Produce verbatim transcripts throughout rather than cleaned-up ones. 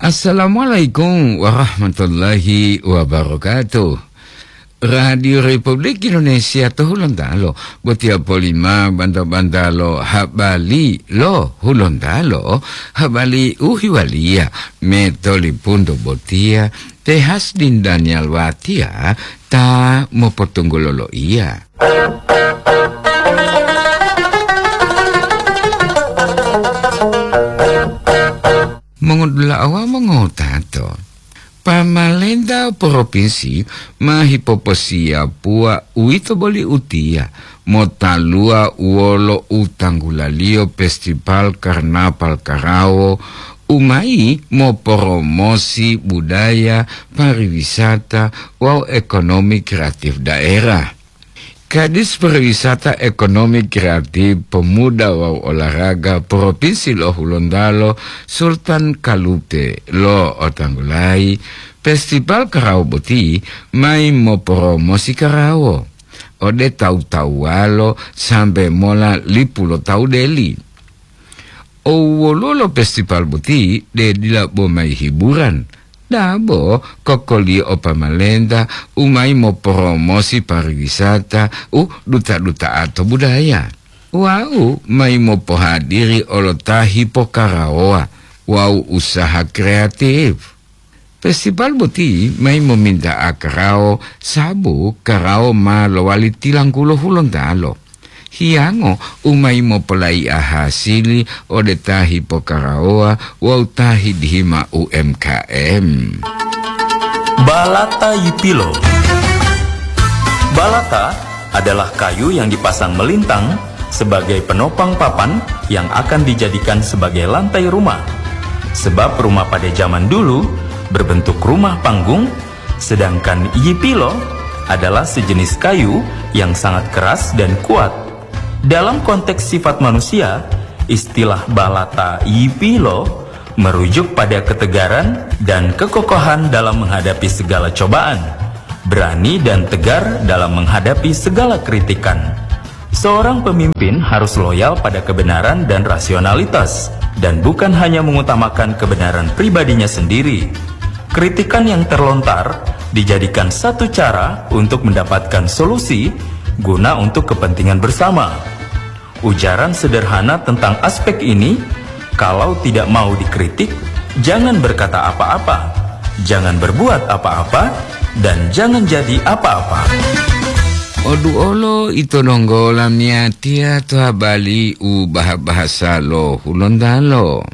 Assalamualaikum warahmatullahi wabarakatuh. Radio Republik Indonesia to Hulontalo, botiya polima banta-banta lo habari lo Hulontalo, habari u hiwaliya metolipunto botiya, te Hasdin Daniel Watia ta mopotunggulo loiya. Mongodula'a wawu mongotato, pamalenta propinsi ma hipoposiyapuwa uwito boli utiya motaluwa wolo u tanggulaliyo Festival Karnaval Karawo u mayi moporomosi budaya, pariwisata wawu ekonomi kreatif daerah. Kadis Pariwisata, Ekonomi Kreatif, Pemuda wawu Olahraga Propinsi lo Hulontalo, Sultan Kalute, lo'otanggulayi Festival Karawo boti mayi moporomosi karawo ode tawu-tawuwalo sambe mola lipu lo tawu deli. O woluwo lo festival boti de dila bo mayi hiburan, dabo kokoliyo o pamalenta u mayi moporomosi pariwisata u duta-duta'a to budaya, wawu mayi mopohadiri olo ta hipokarawowa wawu usaha kreatif. Festival boti mayi mominta'a karawo, sabu karawo ma lowali tilanggulo Hulontalo. Hiyango u mayi mopolayi'a hasili ode ta hipokarawowa wawu ta hidihima U M K M. Balata Yipilo. Balata adalah kayu yang dipasang melintang sebagai penopang papan yang akan dijadikan sebagai lantai rumah. Sebab rumah pada zaman dulu berbentuk rumah panggung, sedangkan yipilo adalah sejenis kayu yang sangat keras dan kuat. Dalam konteks sifat manusia, istilah balata yipilo merujuk pada ketegaran dan kekokohan dalam menghadapi segala cobaan, berani dan tegar dalam menghadapi segala kritikan. Seorang pemimpin harus loyal pada kebenaran dan rasionalitas, dan bukan hanya mengutamakan kebenaran pribadinya sendiri. Kritikan yang terlontar dijadikan satu cara untuk mendapatkan solusi guna untuk kepentingan bersama. Ujaran sederhana tentang aspek ini, kalau tidak mau dikritik, jangan berkata apa-apa, jangan berbuat apa-apa, dan jangan jadi apa-apa. Odu olo ito donggo lamiyatiya to habari u baha-bahasa lo Hulontalo.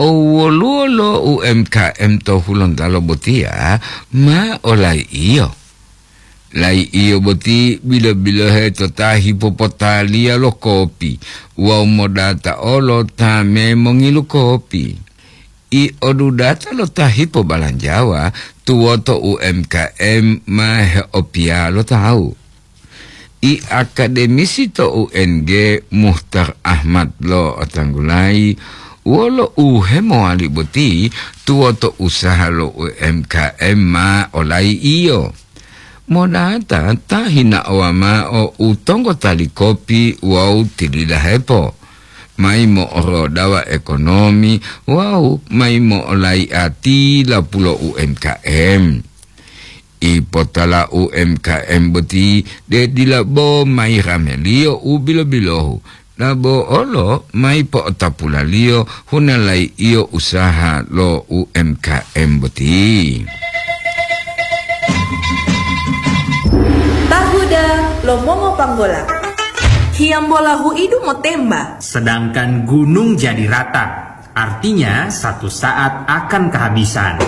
O woluwo lo U M K M to Hulontalo botiya ma olai'iyo. Lai'iyo boti bilo-bilohe to ta hipopotaliya lo kopi wawu modata olo ta memongilu kopi. I odudata lo ta hipobalanjawa tuwoto U M K M ma heopiya lo tawu. I akademisi to U N G Muhtar Ahmad lo'otanggulayi wolo u hemowali boti tuwoto usaha lo U M K M ma olai'iyo. Monata ta hinaowa mao u tonggotali kopi wawu tilidahepo, mayi mo'orodawa ekonomi wawu mayi mo'olai'a tilapulo U M K M. Ipotala U M K M boti de dila bo mayi rameliyo u bilo-bilohu, dabo olo mayi po'otapulaliyo hunalai'iyo usaha lo U M K M boti. Tahuda lo mongo panggola. Hiyambola hu'idu motemba. Sedangkan gunung jadi rata, artinya satu saat akan kehabisan.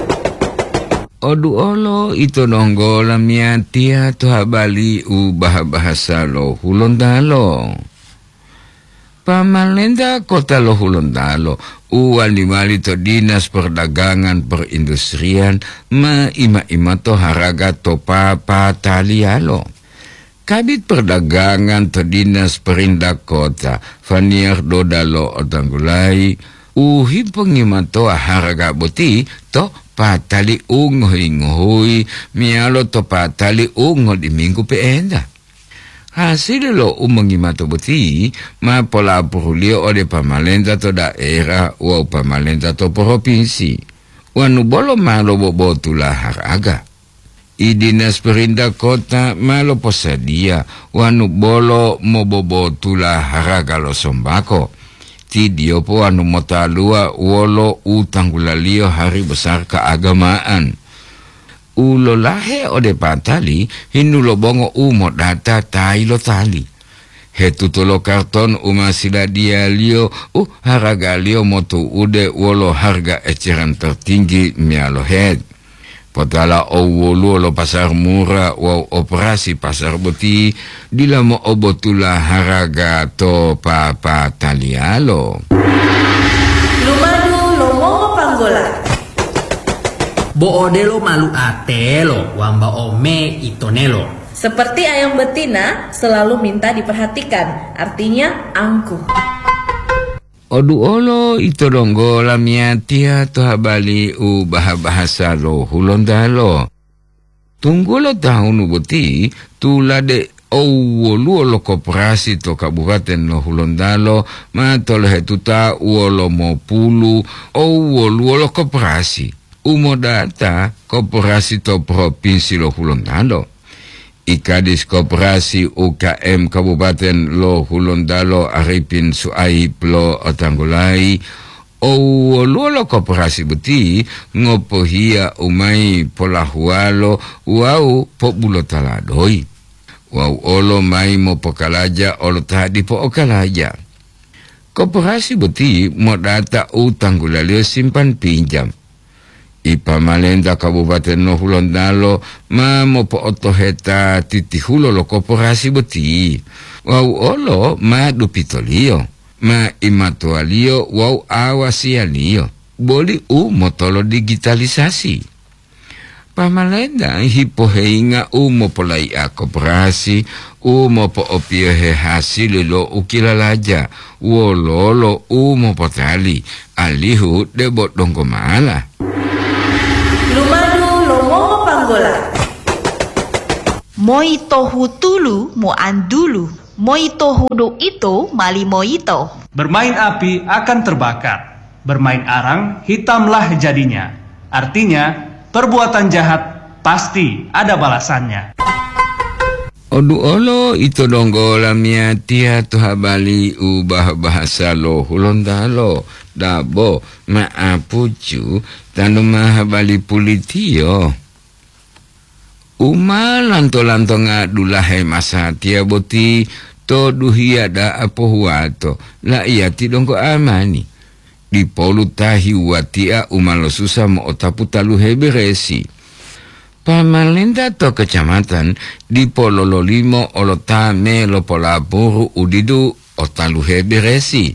Odu olo ito donggo lamiyatiya to habari u baha-bahasa lo Hulontalo. Pamalenta kota lo Hulontalo u wali-wali to Dinas Perdagangan Perindustrian ma ima-ima to haraga to papataliyalo. Kabit Perdagangan to Dinas Perintah Kota, Faniar Dodalo Otanggulai, u hipongimatowa haraga boti to patali u ngohi-ngohuyi meyalo to patali u ngodiminggu pe'enta. Hasili lo u mongimato boti ma polapuruliyo ode pamalenta to daerah wawu pamalenta to propinsi. Wanu bolo ma lobobotula haraga. I dinas perintah kota ma loposadiya wanu bolo mobobotula haraga lo sombako. Ti diyopo wanu motaluwa wolo u tanggulaliyo hari besar keagamaan. U lolahe ode patali hinu lo bongo u modata tayi lo tali. Hetuto lo karton u ma siladiyaliyo u haragaliyo motu'ude wolo harga eceran tertinggi meyalo het. Potala owoluwo lo pasar murah wawu operasi pasar boti dila mo'obotula haraga to papataliyalo. Lumadu lo mongopanggola. Bo odelo malu atelo wambao me itonelo. Seperti ayam betina selalu minta diperhatikan, artinya angkuh. Oduolo ito donggo lamiyatiya to habali u baha-bahasa lo Hulontalo. Tunggulo tahunu boti tulade owoluwo lo koperasi to Kabupaten lo Hulontalo ma tolohetuta wolo mopulu owoluwo lo koperasi. U modata koperasi to Propinsi lo Hulontalo. I Kadis Koperasi U K M Kabupaten lo Hulontalo Arifin Suaib lo otanggulayi, owoluwo lo koperasi boti ngopohiya u mayi polahuwalo wawu pobulotala doyi, wawu olo mayi mopokalaja olo ta dipo okalaja. Koperasi boti modata u tanggulaliyo simpan pinjam. I pamalenta Kabupaten lo Hulontalo ma mopo'otoheta titihulo lo koperasi boti, wawu olo ma dupitoliyo, ma imatuwaliyo wawu awasiyaliyo, boli u motolo digitalisasi. Pamalenta hipoheyinga u mopolayi'a koperasi u mopo'opiyohe hasili lo u kilalaja wololo u mopotali, alihu debo donggo mala. Lumadu lo mongopanggola. Moyitohu tulu moantulu, moyitohu du'ito mali moyito. Bermain api akan terbakar. Bermain arang, hitamlah jadinya. Artinya, perbuatan jahat pasti ada balasannya. Oduolo ito donggo lamiyatiya to habali u bah-bahasa lo Hulontalo, dabo ma'apucu tanu ma habali pulitiyo. U ma lanto-lantonga dulahe masatiya boti to duhiya da'a pohuwato, la'iyati donggo amani. Dipolu ta hiwuwatia u ma losusa mo'otapu taluhe beresi. Pamalenta to kecamatan dipo lololimo olo ta me lopolapuru u didu o taluhe beresi.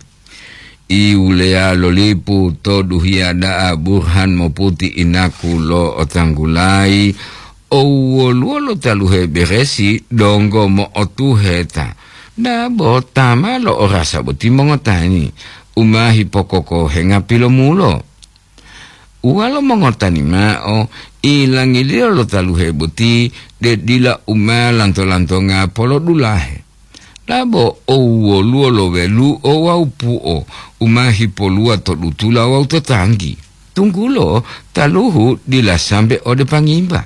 I wuleya lo lipu to duhiya da'a Burhan moputi inaku lo otanggulayi, owoluwo lo taluhe beresi donggo mo'otuheta. Dabo ta ma lo'orasa boti mongotani, u ma hipokokohenga pilomulo. Uwalo mongotani mao, ilangiliyo lo taluhe boti de dila u ma lanto-lantonga polodulahe. Labo owoluwo lo welu'o wawu pu'o u ma hipoluwa to dutula wawu to tanggi, tunggulo taluhu dila sambe ode pangimba.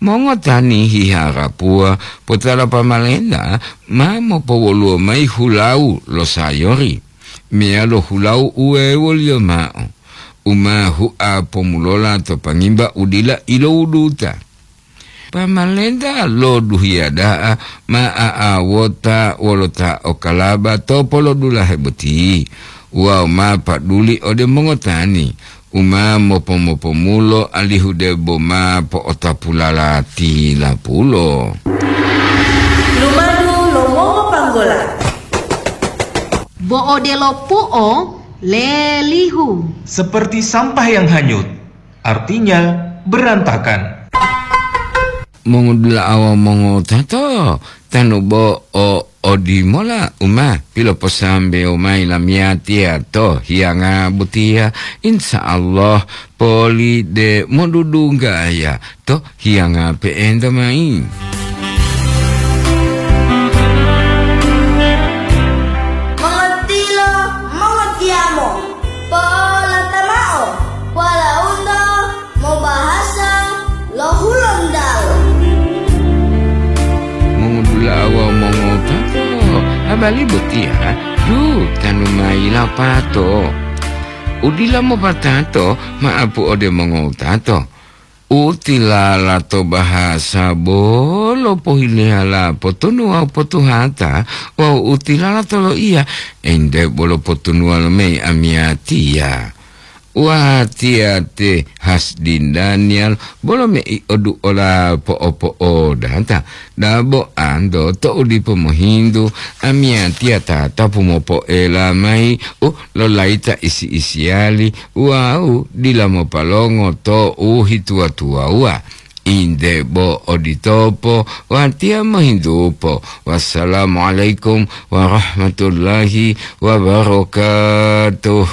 Mongotani hiharapuwa potala pamalenta ma mopowoluwo mayi hulawu lo sayori, meyalo hulawu u wewoliyo mao, u ma hua pomulola to pangimba u dila ilowuduta. Pamalenta lo duhiya da'a ma a'awota wolo ta o kalaba to polodulahe boti, wawu ma paduli ode mongotani u ma mopo-mopomulo alihu debo ma po'otapulala tilapulo. Lumadu lo mongopanggola. Bo odelo pu'o lelihu. Seperti sampah yang hanyut, artinya berantakan. Mongodula'a wawu mongotato, tanu bo o odimola u ma piloposambewo mayi lamiyatiya to hiyanga botiya, insya Allah poli de modudunggaya to hiyanga pe'enta mayi. Tali botiya, du tanu mayi lapato. Udila mopatato, ma'apu ode mongowutato. Utilala to bahasa bolo pohileyala potunu wawu potuhata, wawu utilala to loiya, ente bolo potunuwa lomeyi amiyatiya. Watiya te Hasdin Daniel bolo meiodu ola po'opo'odata, dabo anto to'u dipo mohintu, amiyatiya tatapu mopoela mayi u lolayita isi-isiyali wawu dila mopalongo to'u hituwa-tuwawuwa. Inde bo oditopo, watiya mohintupo. Wassalamualaikum warahmatullahi wabarakatuh.